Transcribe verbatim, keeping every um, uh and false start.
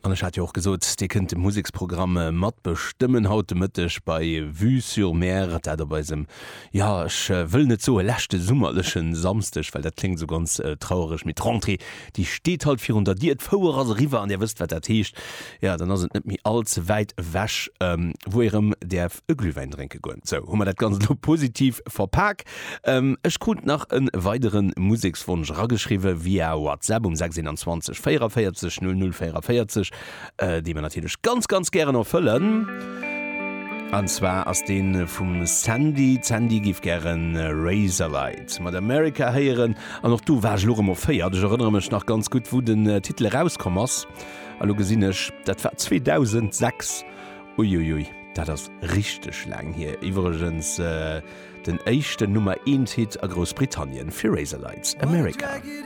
An ech hat jo och gesot, Dir kënnt de Museksprogramm matbestëmmen haut de Mëtteg bei Vue sur Mer, dat op eisem, jo, ech wëll net soe leschte summerleche Samsdeg, well dat kléngt esou ganz trauereg, mee d'Rentrée, déi steet halt virun der Dier, d'Fouer ass eriwwer an Dir wësst, wat dat heescht. Jo, dann ass et net méi all ze wäit ewech, wou ee rëm däerf e Glühwäin drénke goen. Sou, hu mer dat Ganzt elo positiv verpak. Ech krut nach e weidere Musekswonsch erageschriwwe via WhatsApp um sechs eenanzwanzeg véierunvéierzeg null null véierunvéierzeg, dee mer natierlech ganz, ganz gären erfëllen. An zwar ass dee vum Sandy. D'Sandy géif gären Razorlight mat America héieren. An och do war ech elo erëm erféiert. Ech erënnere mech nach ganz gutt, wou den Titel erauskomm ass. A lo gesinn ech, dat war zweedausendsechs. Uiuiui, dat ass richteg laang hier. Iwwregens den éischten Nummer-eent-Hit a Groussbritannien fir Razorlights, America.